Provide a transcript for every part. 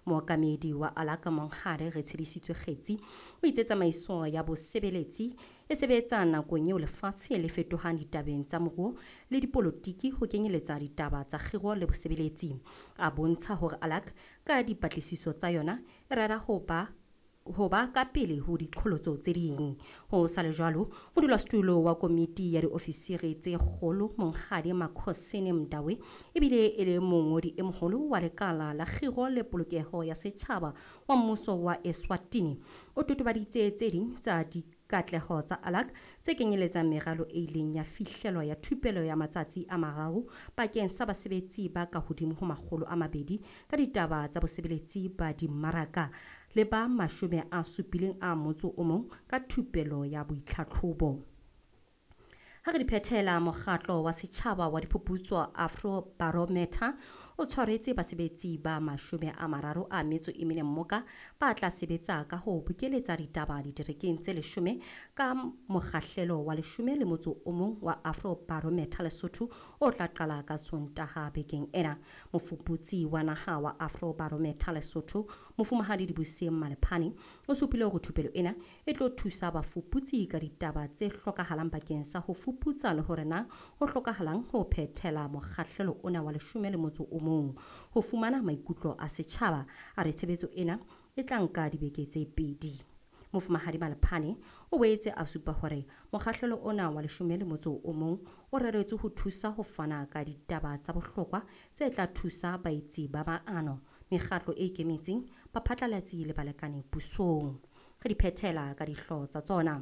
Mookamedi wa ALAC Monghadi Retshedisitswe Kgetsi o itse tsamaiso ya bosebeletsi e sebetsa nakong eo lefatshe le fetohang ditabeng tsa moruo le dipolotiki ho kenyeletsa ditaba tsa kgiro le bosebeletsi. A bontsha hore ALAC ka dipatlisiso tsa yona e rera ho ba ka pele ho diqholotso tse ding. Ho sa le jwalo, modulasetulo wa komiti ya diofisiri tse kgolo Monghadi Makhosini Mdawe ebile e le mongodi e moholo wa lekala la kgiro le polokeho ya setjhaba wa mmuso wa Eswatini o totobaditse tse ding tsa dikatleho tsa ALAC tse kenyeletsang meralo e ileng ya fihlelwa ya thupelo ya matsatsi a 3 bakeng sa basebetsi ba ka hodimo ho 200 ka ditaba tsa bosebeletsi ba dimmaraka le ba 71 ka thupelo ya boitlhatlhobo. Ha re di phethela, mokgatlo wa setjhaba wa diphuputso Afrobarometer o tshwaretse basebetsi ba 34 mmoka ba tla sebetsa ka ho bokeletsa ditaba diterekeng tse 10 ka mokgahlelo wa 11 wa Afrobarometer Lesotho o tla qala ka Sontaha bekeng ena. Mofuputsi wa naha wa Afrobarometer Lesotho Mofumahadi Dibuseng Malephane o supile hore thupelo ena e tlo thusa bafuputsi ka ditaba tse hlokahalang bakeng sa ho fuputsa le hore na ho hlokahalang ho phethela mokgahlelo ona wa 11 ho fumana maikutlo a setjhaba. A re tshebetso ena e tla nka dibeke tse 2. Mofumahadi Malephane o boetse a supa hore mokgahlelo ona wa 11 o reretswe ho thusa ho fana ka ditaba tsa bohlokwa tse tla thusa baetsi ba maano, mekgatlo e ikemetseng, baphatlalatsi le balekane pusong. Re di phethela ka dihlooho tsa tsona.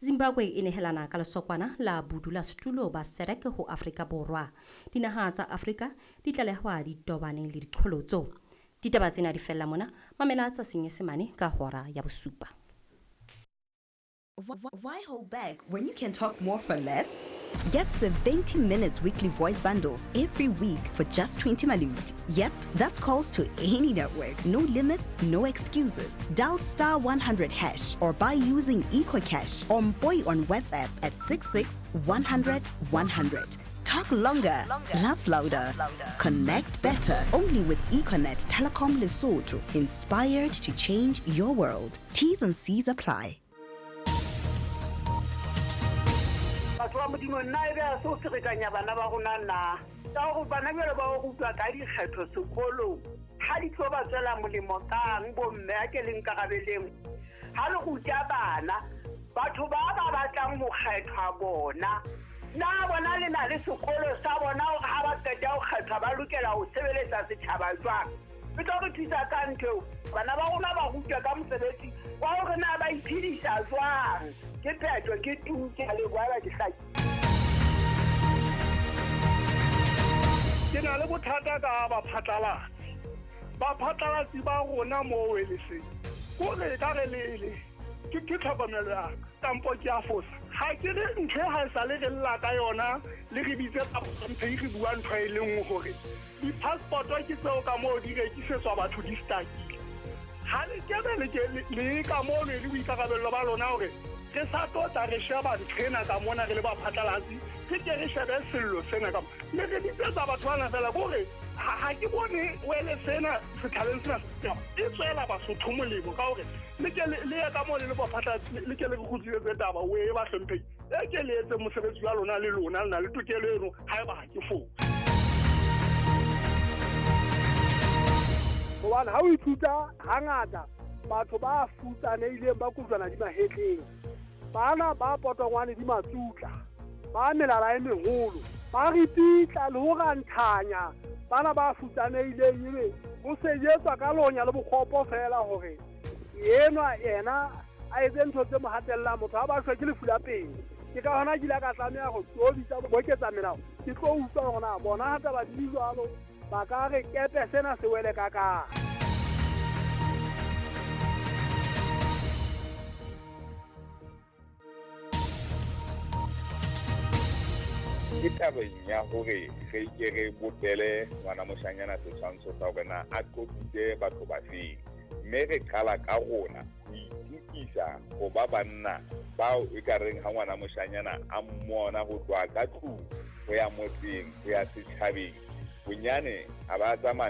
Zimbabwe e nehelana ka lesokwana la bodulasetulo ba SADC ho Afrika Borwa. Dinaha tsa Afrika di tlalehwa di tobane le diqholotso. Ditaba tsena di fella mona, mamela tsa Senyesemane ka hora ya 7. Why hold back when you can talk more for less? Get 70 minutes weekly voice bundles every week for just 20 malut. Yep, that's calls to any network. No limits, no excuses. Dial *100# or buy using EcoCash or Mboy on WhatsApp at 66 100 100. Talk longer, laugh louder, connect better. Only with Econet Telecom Lesotho. Inspired to change your world. T's and C's apply. Batho ba Modimo, nna e be a se o ferekanya bana ba rona na ka gore bana bjalo ba o rutwa ka dikgetho sekolong ga di tlo ba tswela molemo kang bomme a ke leng karabeleng. Ga le ruta bana batho ba ba batlang ho kgethwa bona na bona le na le sekolo sa bona hore ha ba qeta ho kgethwa ba lokela ho sebeletsa setjhaba jwang. E tlo re thusa ka ntho eo. Bana ba rona ba rutwa ka mosebetsi wa hore na ba iphedisa jwang. Ke phetho ke tu ke a leboha ke hlaki. Ke na le bothata ka baphatlalatsi. Baphatlalatsi ba rona mo weleseng kore ka re lele ke tlhokomelo ya ka kampo ke a fosa. Ha ke re ntho ha e sa le re lla ka yona le re bitse mphe re bua ntho e le nngwe hore di-passport ke tseo ka moo di rekisetswa batho di stakile. Ha le kebe le ka moo le boikarabello ba lona hore re sa tlo tla re sheba ntho ena ka mona re le baphatlalatsi, re ke re shebe sello sena ka mona. Le re bitsetsa batho bana fela kore ha ke bone wele sena setjhabeng sena e tswela Basotho molemo ka hore le ke le ye ka moo le le baphatlalatsi, le ke le re kgutlisetse taba o e ba hlomphehile. E ke le etse mosebetsi wa lona le lona le na le tokelo eno haeba ha ke fose. Hobane ha o ithuta hangata batho ba futsanehileng ba kojwana di mahetleng, bana ba potongwane di matsutla, ba melala e meholo, ba ripitla le ho ranthanya bana ba futsanehileng, ebe ho sejetswa ka lonya le bokgopo fela hore enwa yena a etse ntho tse mo hatellang motho ha ba shwe ke lefu la pele. Ke ka hona ke ile ka tlameha ho tobitsa boketsa melao, ke tlo utlwa hore na bona ha taba di jwalo ba ka re kepe sena se wele ka ka. Ke tabeng ya hore re ke re bopele ngwana moshanyana setshwantsho sa hore na a qoqitse batho ba feng, mme re qala ka rona ho itukisa ho ba banna bao e ka reng ha ngwana moshanyana a mmona ho tloha ka tlung ho ya motseng ho ya setjhabeng bonyane a ba tsamaya.